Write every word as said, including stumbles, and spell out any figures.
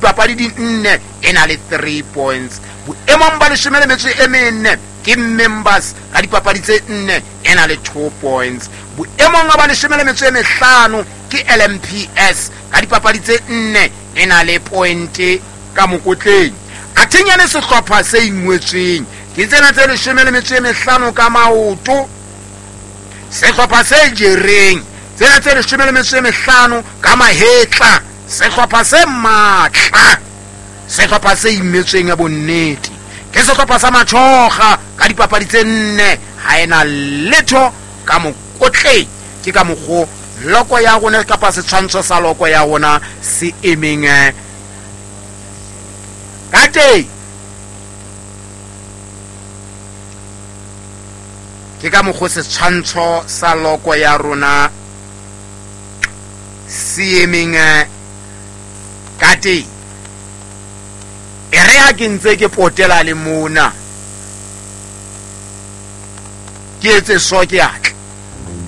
dipapadi di nne e na le three points. Boemong ba leshome le metso e mene ke Members ka dipapadi tse nne e na le two points. Boemong ba leshome le metso e mehlano ke L M P S ka dipapadi tse nne e na le point ka mokotleng. Athenyane sehlopha se ingwetsweng ke tsena tse leshome le metso e mehlano ka maoto. Sehlopha se jereng tsena tse leshome le metso e mehlano ka mahetla. Sehlopha se matla, sehlopha se imetsweng ya bonnete ke sehlopha sa Matjhoga ka dipapadi tse nne ha ena letho ka mokotleng. Ke ka mokgo loko ya rona kapa setshwantsho sa loko ya rona se emeng ka teng. Ke ka mokgo setshwantsho sa loko ya rona se emeng ka teng. E re ha ke ntse ke potela le mona ke etse so ke atla.